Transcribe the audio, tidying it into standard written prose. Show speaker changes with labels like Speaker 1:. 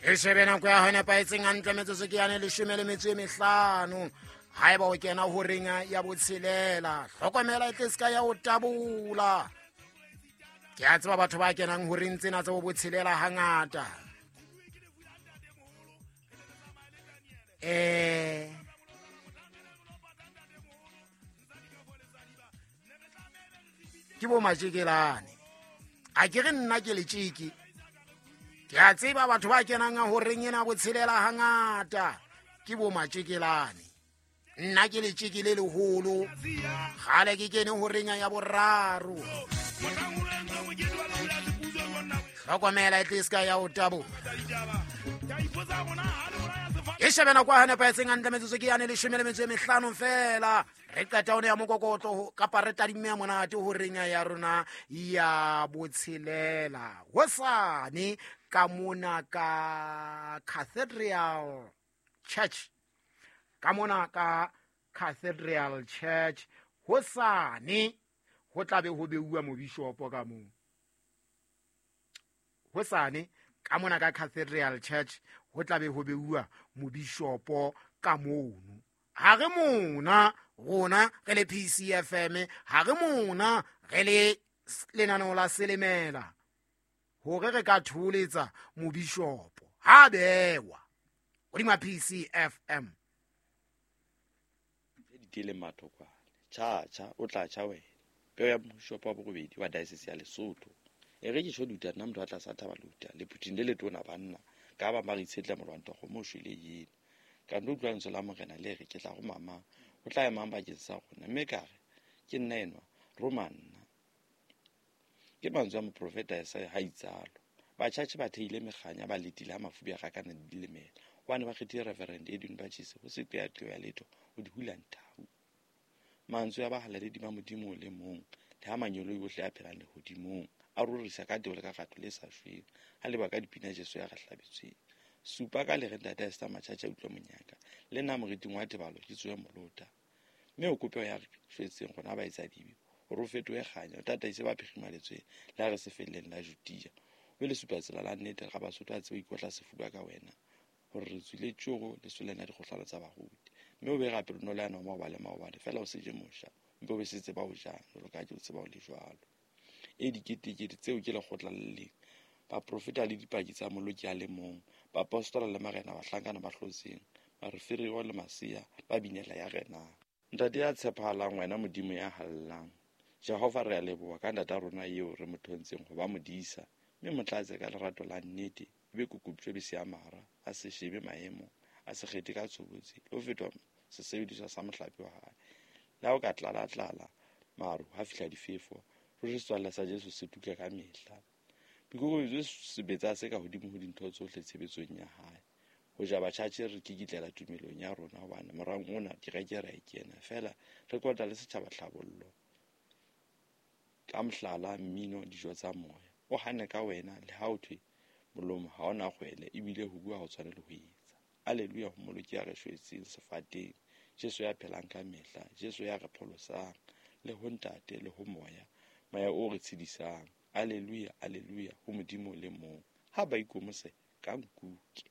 Speaker 1: E shebe nako ya ho nepahetseng hantle, metsotso ke yane 15. Haeba o kena horeng ya botshelela, hlokomela e tle se ka ya o tabola. Ke a tseba batho ba kenang horeng tsena tsa bo botshelela hangata. Ke bo matjekelane. A ke re nna ke letjeke. Ke a tseba batho ba kenang horeng ena botshelela hangata ke bo matjekelane. Nna ke letjeke le leholo. Kgale ke kene horeng ya boraro. Hlokomela e tle se ka ya o tabola. E shebe nako ya nepahetseng hantle, metsotso ke yane 15 fela. Re qeta one ya mokokotlo kapa re tadimme ya monate horeng ya rona ya botshelela. Hosane ka mona ka Cathedral Church. Ka mona ka Cathedral Church hosane ho tla be ho beuwa mobishopo ka moo. Hosane ka mona ka Cathedral Church ho tla be ho beuwa mobishopo ka mono. Ha re mona rona re le PCFM, ha re mona re le lenaneo la Selemela hore re ka tholetsa mobishopo ha bewa hodima PCFM.
Speaker 2: Ditele mathokwane cha cha o tla cha wena peo ya mobishopo wa borobedi wa diocese ya Lesotho. E re ke tjho duta nna motho a tlasa thaba luta le phuthing le letona banna ka ba ba re itshetla molwanto go mo shwele yena. Ka ndo utlwa lentswe la morena le re ke tla go mama o tla emang bakeng sa rona, mme ka re ke nna enwa roma nna. Ke mantswe a moprofeta Isaiah ha itsalo. Batjhatjhe ba theile mekganya ba letile ha mafubi a rakana di dilemela. Hobane ba kgethile Reverend Edwin Bachise ho se qeaqeo ya letho ho di hula nthau. Mantswe a bahalaledi ba Modimo o le mong le ha manyoloi ohle a phelang lehodimong a rorisa ka tebo le ka rato le sa shweng ha leba ka dipina Jesu ya re hlabetsweng. Supa ka le re ntate Esther Matjhatjha utlwa monyaka le nna moriting wa tebalo ke tsohe molota. Mme o kope ya re shwetseng rona ba etsa dibe hore o fetohe kganya o tataise ba phirimaletsweng le ha re se felleng la Judea. O be le supa tsela la nnete ga Basotho a tsebe ho ikotla sefuba ka wena hore re tswile tjoro lesoleng la dikgohlano tsa baruti. Mme o be rapelo le yana maobane le maobane fela o se je mosha mpe o be se tseba ho jang jwalo ka ha ke o tseba o le jwalo. E diketekete tseo ke lekgotla le leng baprofeta le dipaki tsa moloki a le mong baapostola le marena bahlankana ba hlotseng bareferio le masea ba binela ya renang. Ntate ya tshepahalang wena Modimo ya hallang Jehova re a leboha ka ntata rona eo re mo thontseng ho ba modisa mme mo tlatse ka lerato la nnete e be kokobitso be se ya mara a se shebe maemo a se kgethe ka tshobotsi le ho fetwa sesebediswa sa mohlape wa hae. Le ha o ka tlala-tlala maru ha fihla difefo ruri setswalle sa Jesu se tuka ka mehla. Boikokobetso sebetsa se ka hodimo ho dintho tsohle tshebetsong ya hae. Ho ja batjhatjhe re kikitlela tumelong ya rona hobane morang ona kereke re a e kena fela re kota le setjhaba tlhabollo ka mohlala mmino dijo tsa moya. O hane ka wena le ha o thwe molomo ha ona kgwele ebile ho bua ho tshwane le ho etsa. Alleluia ho moloki ya re shwetseng sefateng Jesu ya phelang ka mehla Jesu ya re pholosang le ho ntate le ho moya moya o re tshedisang. Alleluia alleluia ho Modimo le mong ha ba ikomose ka nkuke.